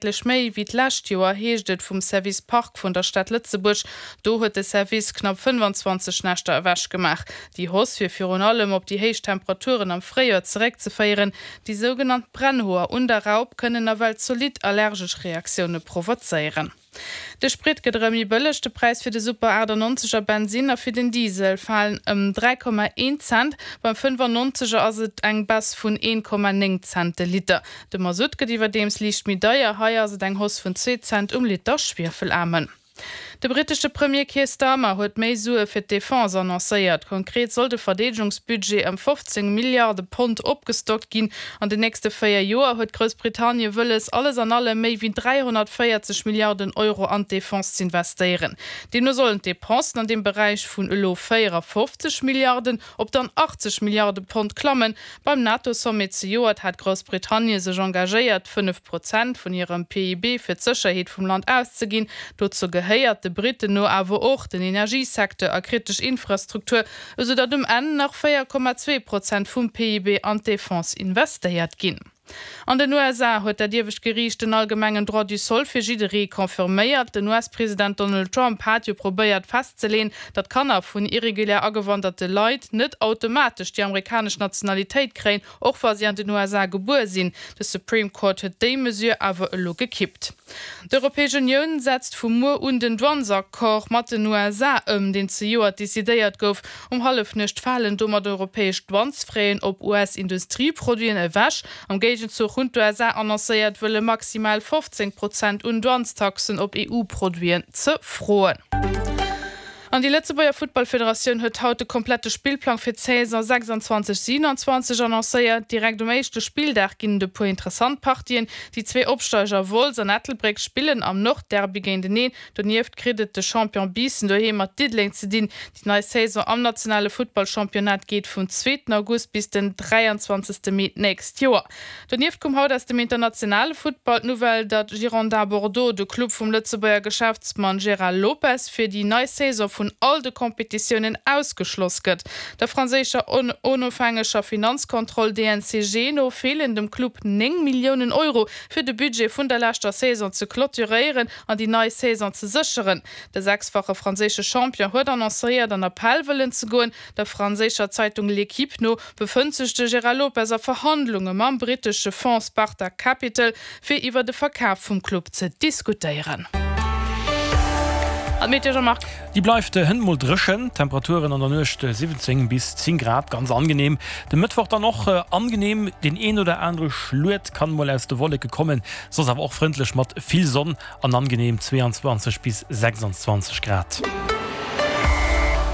Däitlech méi wéi d'lescht Joer, heescht et vum Service Park vun der Stad Lëtzebuerg. Do huet de Service knapp 25 Näschter ewech gemaach. Déi Hausse wier virun allem op déi héich Temperaturen am Fréijoer zeréckzeféieren. Déi sougenannt Brennhoer un der Raup kënnen nawell zolidd allergesch Reaktioune provozéieren. De Sprit gëtt erëm méi bëlleg, De Präis fir de Super 98 er Bensinn a fir den Diesel falen ëm 3,1 Cent. Beim 95 er ass et eng Baisse vun 1,9 Cent de Liter. De Masutt gëtt iwwerdeems liicht méi deier, hei ass et eng Hausse vun zwee Cent um Liter Schwiefelaarmen. De brittesche Premier Keir Starmer huet méi Sue fir d'Defense annoncéiert. Konkret soll de Verdeedegungsbudget ëm 15 Milliarde Pond opgestockt ginn. An den nächste 4 Joer huet Groussbritannie wëlles, alles an allem méi wéi 340 Milliarden Euro an d'Defense z'investéieren. Deemno sollen d'Depensen an deem Beräich vun elo 54 Milliarden op dann 80 Milliarde Pond klammen. Beim NATO-Sommet zejoert hat Groussbritannie sech engagéiert, 5 Prozent vun hirem PIB fir d'Sécherheet vum Land auszeginn. Dozou gehéiert de Britten no awer och den Energiesecteur a kritesch Infrastruktur, esou datt um Enn nach 4,2 Prozent vum PIB an d'Defense investéiert ginn. An den USA huet dat iewescht Geriicht den allgemengen Droit du sol fir jidderee confirméiert. Den US-President Donald Trump hat jo probéiert festzeleen, datt Kanner vun irregulär agewanderte Leit net automatesch déi amerikanesch Nationalitéit kréien, och wa si an den USA gebuer sinn. De Supreme Court huet déi Mesure awer elo gekippt. D'Europäesch Unioun setzt vu muer un den Douanesaccord mat den USA ëm, deen zejoert decidéiert gouf. Um Hallefnuecht falen domat europäesch Douanesfraisen op US-Industrieproduiten ewech. Am Géigenzuch hunn d'USA annoncéiert, wëlle maximal 15 Prozent un Douanestaxen op EU-Produiten ze froen. An déi Lëtzebuerger Futtballfederatioun huet haut de komplette Spillplang fir d'Saison 26, 27 annoncéiert. Direkt um éischte Spilldag ginn et e puer interessant Partien. Déi zwee Opsteiger Wolz an Ettelbréck spillen am Nordderby géinteneen. Donieft kritt et de Champion Biissen doheem mat Diddeleng ze dinn. Déi nei Saison am nationale Futtballchampionnat geet vum zweeten August bis den 23. Mee d'nächst Joer. Donieft koum haut aus dem internationale Futtball d'Nouvelle, datt Girondins Bordeaux, de Club vum Lëtzebuerger Geschäftsmann Gérald Lopez, fir déi nei Saison vun all de Competitiounen ausgeschloss gëtt. Der franséischer onofhängeger Finanzkontroll DNCG no feelen dem Club 9 Milliounen Euro, fir de Budget vun der leschter Saison ze clôturéieren an déi nei Saison ze sécheren. De sechsfache franséische Champion huet annoncéiert, an Appell wëllen ze goen. Der franséischer Zeitung L'Equipe no befënnt sech de Gérard Lopez a Verhandlunge mam brittesche Fonds Sparta Capital, fir iwwer de Verkaf vum Club ze diskutéieren. An d'Meteo, Jean-Marc? Déi bleift hënt mol dréchen, Temperaturen an der Nuecht 17 bis 10 Grad, ganz angenehm. De Mëttwoch dann och angenehm, deen een oder anere Schluet kann mol aus de Wolleke kommen, soss awer och frëndlech mat vill Sonn An angenehm 22 bis 26 Grad.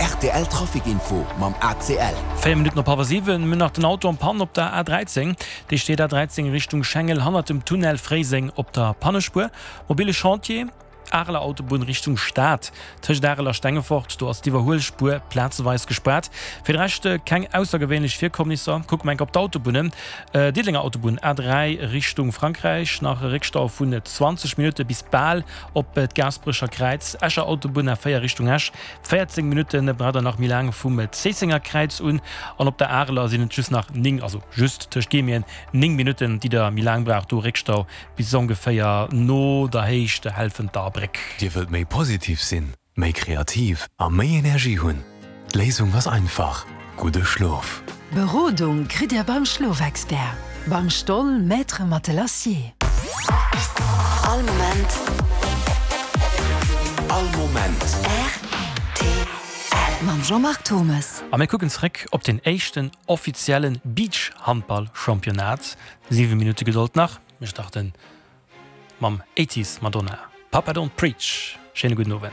Rtl Trafic Info mam ACL. 4 Minutten op hallwer 7, Mir hunn nach den Auto en Panne op der A13. Dee steet A13 Richtung Schengel hannert dem Tunnel Fréiseng op der Pannespuer. Mobile Chantier, Areler Autobunn Richtung Stad, tëscht Arel a Stengefort, do ass d'Iwwerhuelspuer plazeweis gespaart. Fir de Rescht keng aussergewéinlech Virkommnisser. Kucke mer enk op d'Autobunnen. Diddelenger Autobunn A3 Richtung Frankräich, nach e Réckstau vun 20 Minutte bis bal op d'Gaasperecher Kräiz. Escher Autobunn A4 Richtung Esch, 14 Minutte braucht der nach méi laang vum Zéissenger Kräiz un. An op der Areler sinn et just nach 9, also just tëscht Guillemeten 9 Minutten, déi der méi laang braucht. Do Réckstau bis ongeféier no der Héicht Helfenter Bréck. Dir wëllt méi positiv sinn? Méi kreativ a méi Energie hunn? D'Léisung ass einfach, gudde Schlof! Berodung kritt Dir beim Schlofexpert, beim Stoll Maître Matelassier. All Moment. All Moment. Rtl. Mam Jean-Marc Thomes. A mir kucken zeréck op den éischten offizielle Beachhandball-Championnat. 7 Minutte Gedold nach, mir starten mam Eighties Madonna, Papa Don't Preach. Schéine gudden Owend.